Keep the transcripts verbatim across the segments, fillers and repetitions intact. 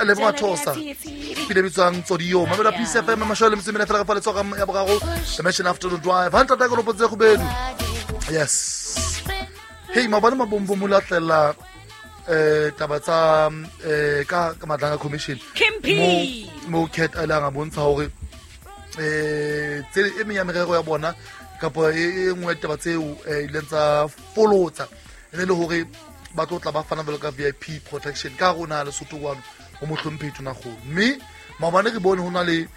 Lebo Mathosa pile bitswang Tsodio mamela Peace F M mashole motse mene fela ka fa letsoga ya boraro the Mansion Afternoon Drive hanta ta go potse go bedu. Yes, hey mabane mabombo mo latlela eh taba tsa eh ka ka Madlanga Commission mo mo cat a langa bontsha hore eh tse e menya merero ya bona kapa e nngwe taba tseo ileng tsa folotsa ene le hore ba tlo tla ba fana jwalo ka V I P protection ka rona le Lesotho kwano ho mohlomphehi Tonakgolo mme maobane re bone ho na le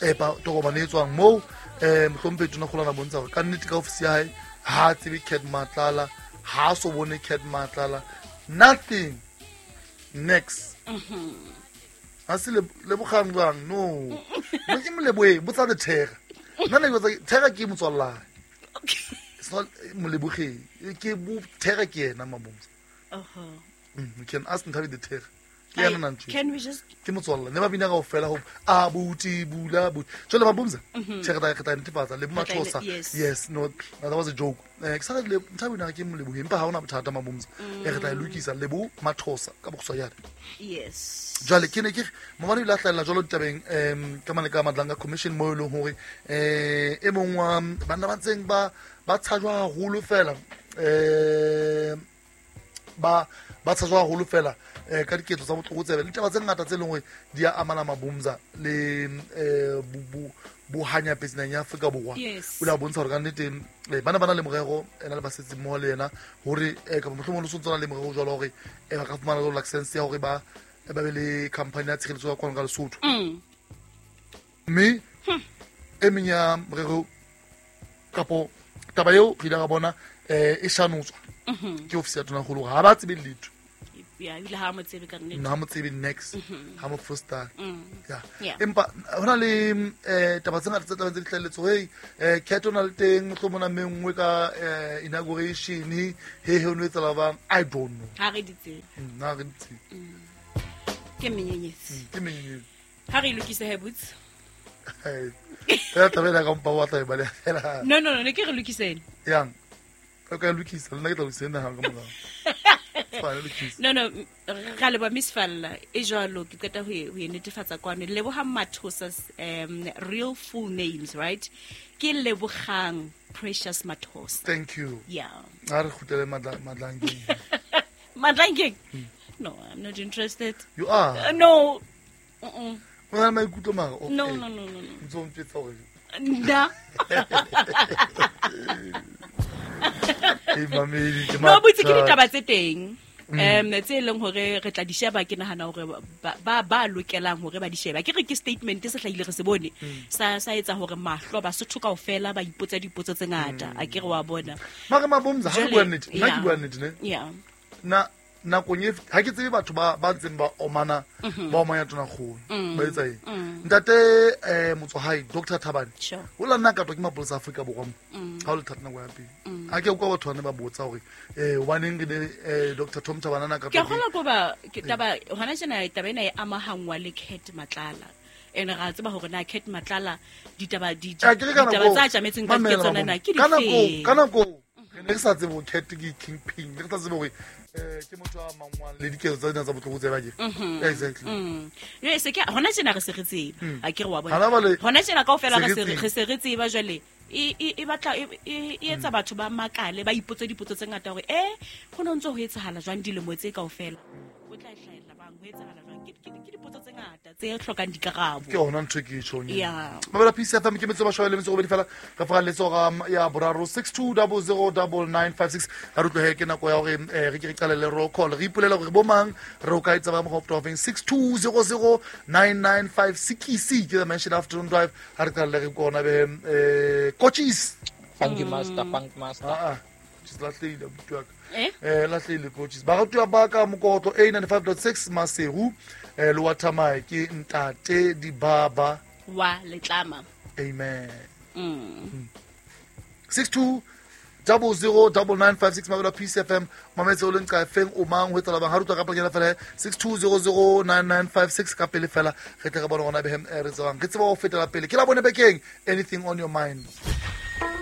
eh tokomane e tswang moo eh mohlomphehi Tonakgolo a bontsha hore ka nnete ka ofisi ya hae ha tsebe Cat Matlala ha so bone Cat Matlala nothing next. Ha se le bogang jwang no mo ke moleboe botsa le thera nna ne ke thera ke motswalla. It's not moleboge ke bo thera ke yena mabomsa. Uh-huh. Mm, you can ask Nthabi the thera ke yena nna ntse. Can we just ke motswalla ne ba bina ka ofela ho a buti bula buti jole mabomsa thera ta ke ta ntefatsa le Mathosa. Yes, no, that was a joke. Eh ke sa le Nthabi na ke moleboge empa ha ona bothata mabomsa e re tla lokisa Lebo Mathosa ka bokhutshwanyane. Yes. Jwale ke ne ke mabane ile a hlahella jwalo ditabeng em ka mane ka Madlanga Commission mo e leng hore eh e mong wa banna ba ntseng ba ba tshajwa haholo fela eh ba ba tshajwa haholo fela eh ka diketso tsa botlokotsebe le ditaba tse ngata tse leng hore di a amana mabomza le eh bohanyapetsi naheng ya Afrika Borwa. O la bontsha hore ka nnete bana ba na le morero ena le basetsi mmoho le yena hore kapa mohlomong le sontso na le morero jwalo hore ba ka fumana jwalo license ya hore ba ba be le company ya tshireletso ya kwano ka Lesotho. Mme e meng ya morero kapo taba eo re ile ra bona eh e shanotswa ke ofisi ya Tonakgolo hore ha ba tsebe letho. Ya ile ha mo tsebe ka nnete. Ha mo tsebe next ha mo foster. Ya empa hona le eh taba tse ngata tse tla tse di hlaheletse hey eh Cat ona le teng mohlomong na mengwe ka inauguration he he no etsala bang I don't know. Ha re di tsebe. Nna re di tsebe. Ke menyenyetsi. Ke menyenyetsi. Ha re lokise he boots. Fela taba ena ka mpa wa tla e baleha fela. No no no ne ke re lokiseng. Yang. O ka lokisa le nna ke tla lokisa nna ha ka morao. No no ra leboha Miss Falla e jwalo ke qeta ho e netefatsa kwano Lebohang Mathosa's um real full names, right? Ke Lebogang Precious Mathosa. Thank you. Yeah. A re kgutlele Madlangeng. Madlangeng? No, I'm not interested. You are? Uh, no. Mm-mm. O na le maikutlo mara? Okay. No, no, no, no, no. Ntso mpetsa hore. Nna. No, botse ke ditaba tse teng. Um tse leng hore re tla di sheba ke nahana hore ba ba lokelang hore ba di sheba. Ke re ke statement se hlahile re se bone. Sa sa etsa hore mahlo ba Sotho kaofela ba ipotsa dipotso tse ngata. A ke re wa bona. Mara mabomza ha re bua nnete. Nna ke bua nnete ne. Yeah. Na nakong e ha ke tsebe batho ba ba ntseng ba omana ba omanya Tonakgolo ba etsa eng. Ntate eh Motswahai Doctor Thabane o la nna ka twa ke mapolesa a Afrika Borwa mo ha o le thata nako ya pele. Ha ke utlwa batho ba ne ba botsa hore eh hobaneng re ne Doctor Tom Thabane na ka Ke kgola ko ba ke taba hona tjena taba ena e amahangwa le Cat Matlala. Ene ra tseba hore na Cat Matlala ditaba di ditaba tsa tjametseng ka ke tsona na ke dife. Ka nako re ne re sa tsebe hore Cat ke kingpin, re sa tsebe hore eh ke motho a mangwang le diketso tsa dina tsa botlokotsebe ba ke. Exactly. Mm. Se ke hona tjena re se re tseba. A ke re wa bona. Hona tjena kaofela re se re se re tseba jwale e e batla e etsa batho ba makale ba ipotse dipotso tse ngata hore eh ho no ntse ho etsahala jwang dilemo tse kaofela. O tla hlahella bang ho etsahala jwang ke ke dipotso tse ngata tse hlokang dikarabo. Ke hona ntho ke tjhong. Mabela Peace F M ke metso ba shwele metso robedi fela re fa letso ga ya boraro six two zero zero nine nine five six ha re tlohe ke nako ya hore re ke re qalele roll call re ipolela hore bo mang re o ka etsa ba mo go six two zero zero nine nine five six ke the Mansion Afternoon Drive ha re qalele re kona be eh coaches. Thank you master, thank master. Ah ah just lahlehile abuti wa ka. Eh eh lahlehile coaches. Ba ratuwa ba ka mokotlo A ninety-five point six Maseru eh le wa Thamae ke ntate Dibaba wa Letlama. Amen. Mm. six two double zero double nine five six Mabela Peace F M mametse o leng ka feng o mang ho etsala bang ha rutwa ka pele fela six two zero zero nine nine five six ka pele fela re tle re bone hona behem re tsebang re tseba ho fetela pele ke la bone bekeng anything on your mind.